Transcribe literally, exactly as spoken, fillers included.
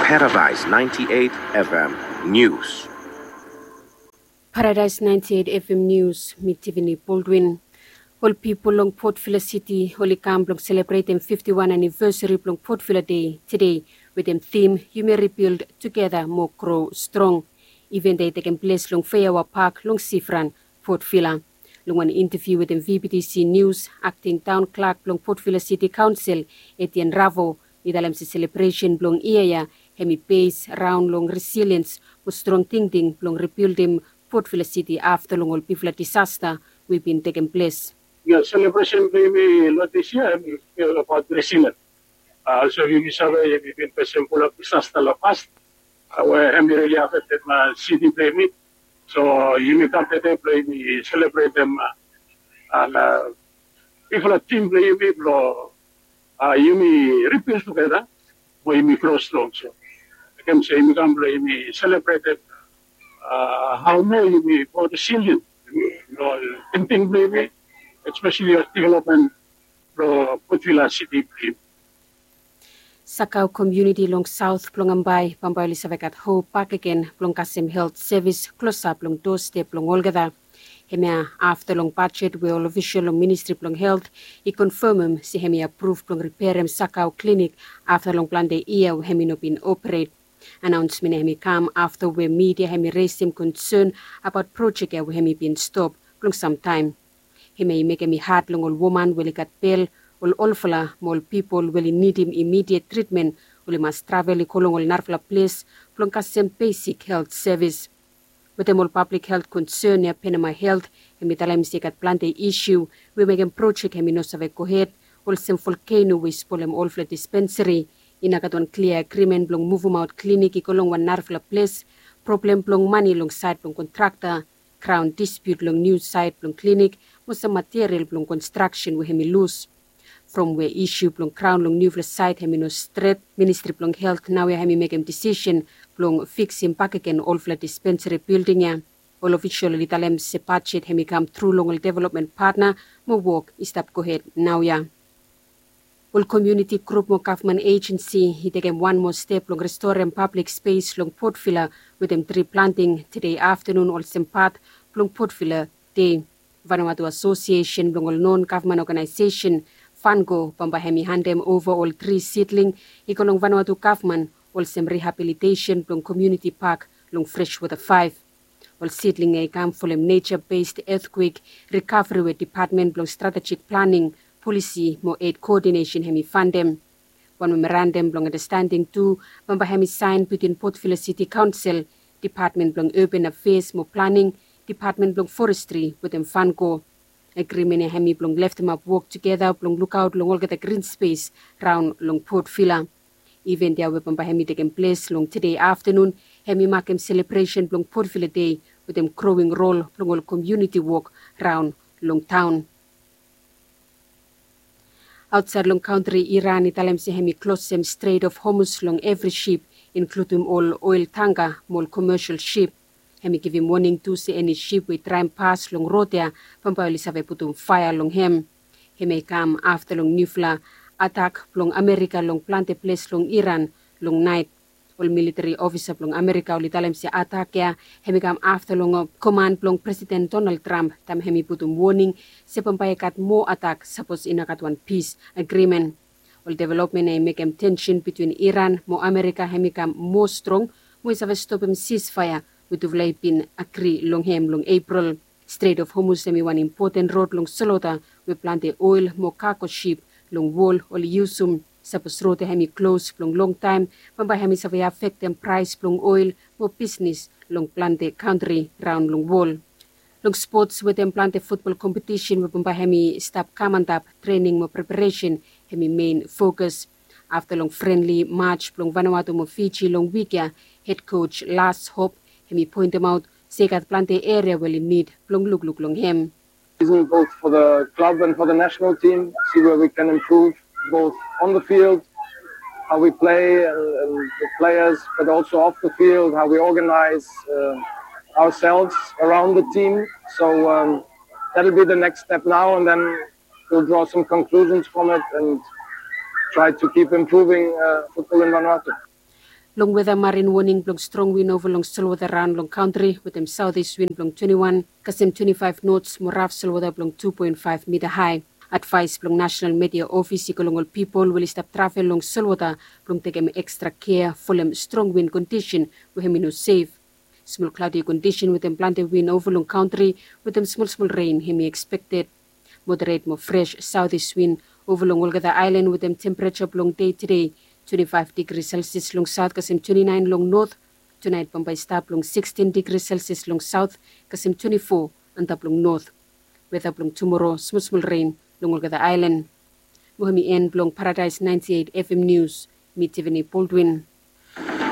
Paradise ninety-eight F M News. Paradise ninety-eight F M News, mi Tiffany Baldwin. Ol pipol long Port Vila City oli kam blong selebretem fifty-one anivesari blong Port Vila Dei tede wetem tim Yumi Rebuild Tugeta Mo Gro Strong. Iven dei tekem ples long Feiawa Pak long Sifran, Port Vila. Long wan inteviu wetem V B T C News, akting taon klak blong Port Vila City Kaonsel, Etienne Ravo, i talem se selebresen blong yia ya hemi bes raon long resiliens mo strong tingting blong ribildim Port Vila City afta long ol bigfala disasta we i bin tekem ples. Ya, selebresen blong yumi long dis yia hemi abaot resiliens. Olsem yumi save yumi bin fesem fulap disasta long pas we hemi rili afektem siti blong yumi. So yumi kam tede blong yumi selebretem bigfala tim blong yumi blong yumi ribil tugeta mo yumi gro strong. So mekem se yumi kam blong yumi selebretem hao moa yumi moa resilien long tingting blong yumi, espeseli long developmen blong Port Vila City blong yumi. Sakau komuniti long saot blong Ambae bambae oli save gat hop bakegen blong kasem helt sevis klosap long doastep blong olgeta. Hemia afta long bajet we ol ofisol long Ministri blong Helt i konfamem se hemi apruf blong riperem Sakau klinik afta long plante yia we hemi no bin operet. Anaonsmen ya hemi kam afta we midia hemi resem konsen abaot projek ya we hemi bin stop blong samtaem. Hemia i mekem i had long ol woman we oli gat bel, ol olfala mo ol pipol we oli nidim imidiet tritmen oli mas travel i go long ol narafala ples blong kasem besik helt sevis. Wetem ol pablik helt konsen ya Penema Helt hemi talem se i gat plante isiu we mekem projek hemi no save gohed, olsem volkeno we i spolem olfala dispensari. I no gat wan klia agrimen blong muvumaot klinik i go long wan narafala ples, problem blong mane long saed blong kontrakta, graon dispiut long niu saet blong klinik mo sam material blong konstraksen we hemi lus. From we isiu blong graon long niufala saet hemi no stret, Ministri blong Helt naoia hemi mekem disisen blong fiksim bakegen olfala dispensari bilding ya. Ol ofisol oli talem se bajet hemi kam tru long ol developmen patna mo wok i stap gohed naoia. Ol komuniti grup mo gavman ejensi i tekem wan moa step blong restorem pablik spes long Port Vila wetem tri planting tede aftanun olsem pat blong Port Vila Dei. Vanuatu Asosiesen blong ol non gavman oganaesesen, Vanco, bambae hemi handem ova ol tri sidling i go long Vanuatu gavman olsem rihabilitesen blong komuniti pak long Freshwater faef. Ol sidling ya i kam folem neja bes etkwek rikavri we Depatmen blong Stratejik Planing, Polisi mo Ed Koodinesen hemi fandem. Wan memorandam blong andastanding tu bambae hemi saen bitwin Port Vila Siti Kaonsel, Depatmen blong Urban Afeas mo Planing, Depatmen blong Forestri wetem Vanco. Agrimen ya hemi blong leftemap wok tugeta blong lukaot long olgeta grin spes raon long Port Vila. Iven ya we bambae hemi tekem ples long tede aftanun hemi makem selebresen blong Port Vila Dei wetem growing rol blong ol komuniti wok raon long taon. Aotsaed long kantri, Iran i talem se hemi klosem Strait of Hormuz long evri sip, inkludim ol oel tangka mo ol komesel sip. Hemi givim woning tu se eni sip we i traem pas long rod ya bambae oli save putum faea long hem. Hemia i kam afta long niufala atak blong Amerika long plante ples long Iran long naet. Ol militeri ofisa blong Amerika oli talem se atak ya hemi kam afta long koman blong Presiden Donald Trump taem hemi putum woning se bambae i gat moa atak sapos i no gat wan pis agrimen. Ol developmen ya i mekem tensen bitwin Iran mo Amerika hemi kam moa strong mo i save stopem sisfaea we tufala i bin agri long hem long Epril. Strait of Hormuz hemi wan impoten rod long solota we plante oel mo kago sip long wol oli yusum. Sapos rod ya hemi klos blong longtaem bambae hemi save afektem praes blong oel mo bisnis long plante kantri raon long wol. Long spots wetem plante futbol kompetisen we bambae hemi stap kam antap, trening mo preparesen hemi mein fokas. Afta long frenli maj blong Vanuatu mo Fiji long wik ya, hed koj Lars Hop hemi poentemaot se i gat plante eria we oli nid blong lukluk long hem. Season both for the club and for the national team, see where we can improve both on the field, how we play and, and the players, but also off the field, how we organize uh, ourselves around the team. So um, that'll be the next step now, and then we'll draw some conclusions from it and try to keep improving uh, football in Vanuatu. Long weda marin woning blong strong win ova long solwota raon long kantri wetem saotis win blong twenti wan kasem twenti faef nots mo raf solwota blong tu poen faef mita hae. Advaes blong nasenal media ofis i go long ol pipol we oli stap travel long solwota blong tekem ekstra kea folem strong win kondisen we hem i no sef. Smol klaodi kondisen wetem plante win ova long kantri wetem smolsmol ren hem i ekspekted. Moderet mo fres saotis win ova long olgeta aelan wetem tempereja blong dei tede twenti faef digri selsias long saot kasem twenti naen long not. Tunaet bambae i stap long sikstin digri selsias long saot kasem twenti fo antap long not. Weda blong tumoro smolsmol ren long olgeta aelan. Mo hem i en blong paradaes naenti eit efem nius. Mi tivini boldwin.